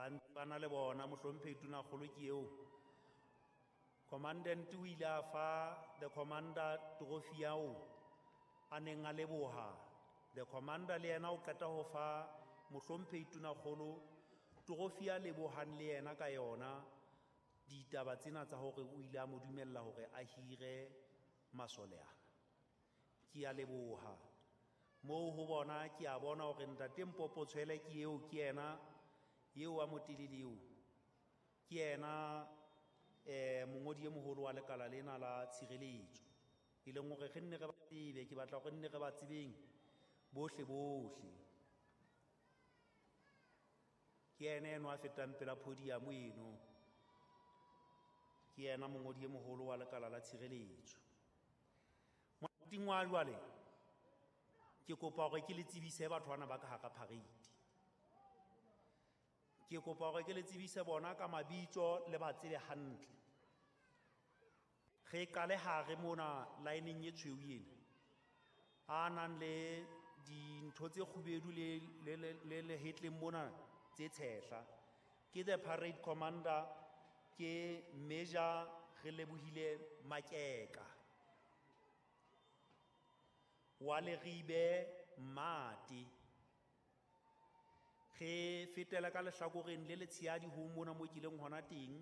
Ba ntse ba na le bona mohlomphehi tonakgolo ke eo. Commandant o ile a fa the commander trophy ao a neng a leboha. The commander le yena o qeta ho fa mohlomphehi tonakgolo trophy a lebohang le yena ka yona ditaba tsena tsa hore o ile a mo dumella hore a hire masole ana. Ke a leboha. Moo ho bona ke a bona hore ntate Mpopo Tshwele ke eo, ke yena eo wa motelele eo. Ke yena mongodi e moholo wa lekala lena la tshireletso. E leng hore re nne re ba tsebe, ke batla hore nne re ba tsebeng bohle bohle. Ke yena eno a fetang pela podium eno. Ke yena mongodi e moholo wa lekala la tshireletso. Morating wa jwale, ke kopa hore ke le tsebise batho bana ba ka hara parade. Ke kopa hore ke le tsebise bona ka mabitso le ba tsebe hantle. Re qale hare mona line-eng e tshweu ena. A nang le dintho tse kgubedu le lehetleng mona tse tshehla. Ke the parade commander, ke Major Relebohile Makeka. Wa Leribe Mate. Re fetela ka lehlakoreng le letshehadi ho mona mo kileng hona teng.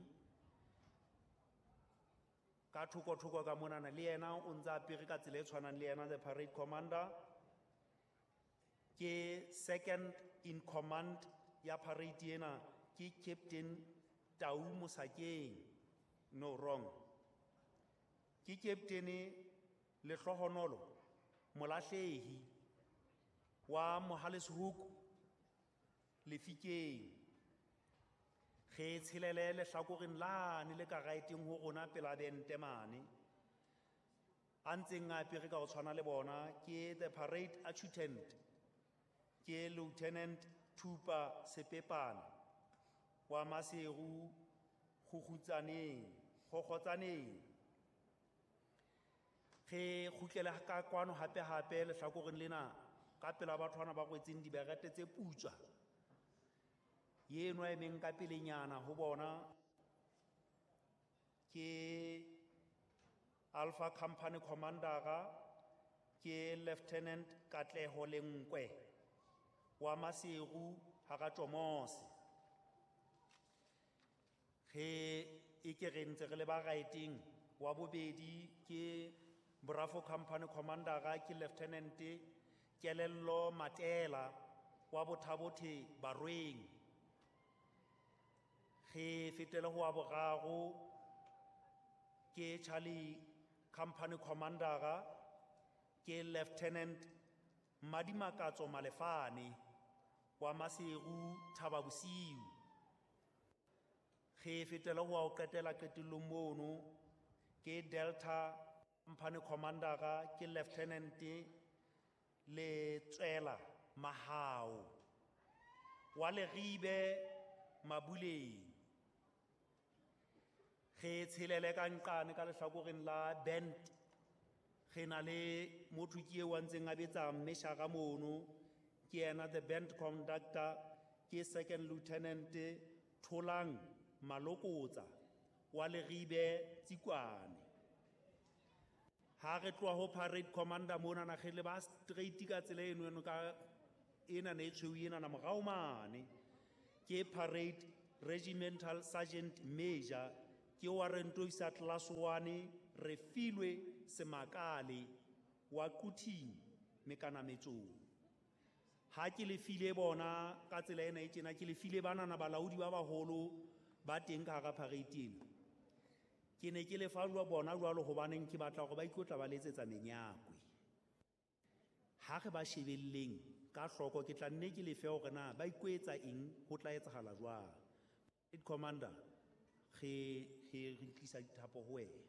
Ka thoko-thoko ka monana le yena o ntse apere ka tsela e tshwanang le yena the parade commander. Ke second in command ya parade ena ke Captain Tau Mosakeng. No, wrong. Ke Captain Lehlohonolo Molahlehi wa Mohale's-Hoek Lefikeng. Re tshelele lehlakoreng lane le ka right-eng ho rona pela bente mane. A ntseng a apere ka ho tshwana le bona ke the parade adjutant, ke Lieutenant Thupa Sepepane wa Maseru Kgokgotsaneng. Re kgutlele ka kwano hape hape lehlakoreng lena ka pela batho bana ba rwetseng diberete tse putswa. Eno a emeng ka pelenyana ho bona ke Alpha Company Commander, ke Lieutenant Katleho Lenkwe wa Maseru hara Tjomose. Re e ke re ntse re le ba right-eng, wa bobedi ke Bravo Company Commander, ke Lieutenant Kelello Matela wa Bothabothe Barweng. Re fetele ho wa boraro ke Charlie Company Commander, ke Lieutenant Madimakatso Malefane wa Maseru Thaba Bosiu. Re fetele ho wa ho qetela qetellong mono ke Delta Company Commander, ke Lieutenant Letswela Mahao wa Leribe Mabuleng. Re tshelele ka nqane ka lehlakoreng la band. Re na le motho ke eo a ntseng a betsa mmeshara mono, ke yena the band conductor, ke Second Lieutenant Tholang Malokotsa wa Leribe Tsikwane. Ha re tloha ho parade commander mona na re le ba straight ka tsela eno eno ka ena ne e tshweu ena na morao mane. Ke parade regimental sergeant major, ke warrant officer class 1 Refilwe Semakale wa Quthing Mekanametsong. Ha ke le file bona ka tsela ena e tjena, ke le file banana balaodi ba baholo ba teng ka hara parade ena. Ke ne ke le fa jwa bona jwalo hobaneng ke batla hore ba ikotla ba letsetsa menyakwe. Ha re ba shebelleng ka hloko, ke tla nne ke le fe hore na ba ikoetsa eng, ho tla etsahala jwang. Parade commander, re tlisa dithapo ho wena.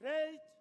Parade.